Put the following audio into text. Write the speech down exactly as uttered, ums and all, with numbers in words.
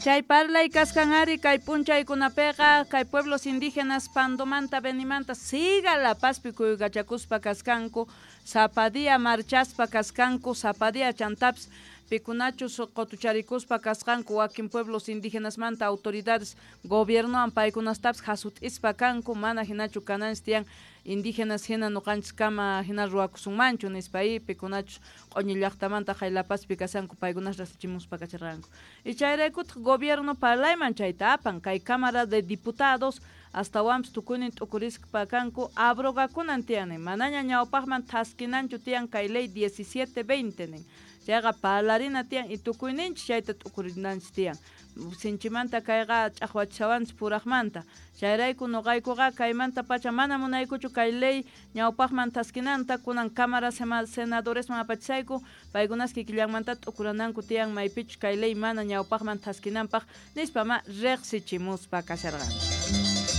Chay parlay kaskan ari kay p'unchaykunapiqa kay pueblos indígenas Pandomanta Benimanta siga La Pazpi kuykachakuspa kaskanku, sapa día marchaspa kaskanku, sapa día chantapis pikunachus qotucharikuspa kasqanku wakin pueblos indígenasmanta autoridades gobiernowan paykunastapis jasut'ispa kanku, mana hinachu kananchis tiyan indígenas hina noqanchis kama hina ruwakusunmanchu nispa y pikunachus q'oñi llaqtamanta hay La Pazpi kashanku paykunas rasichimuspa kacharqanku. Y chayraykutaq gobierno parlayman chayta apan kay Cámara de Diputados astawanpis tukuynin t'ukurispa kanku abrogakunan tiyan nin, manaña ñawpaqman thaskinanchu tiyan kay ley diecisiete veinte nin, chayqa parlarina tiyan y tukuyninchis chayta t'ukurinanchis tiyan, sinchimanta kayqa ch'aqwachishawanchis puraqmanta, chayrayku noqaykuqa kaymanta pacha mana munaykuchu kay ley ñawpaqman thaskinanta, kunan Cámara Senadoresman apachisayku, paykunas kikillanmanta t'ukurananku tiyan maypichus kay ley mana ñawpaqman thaskinanpaq nispa ma riqsichimuspa kasharqanku.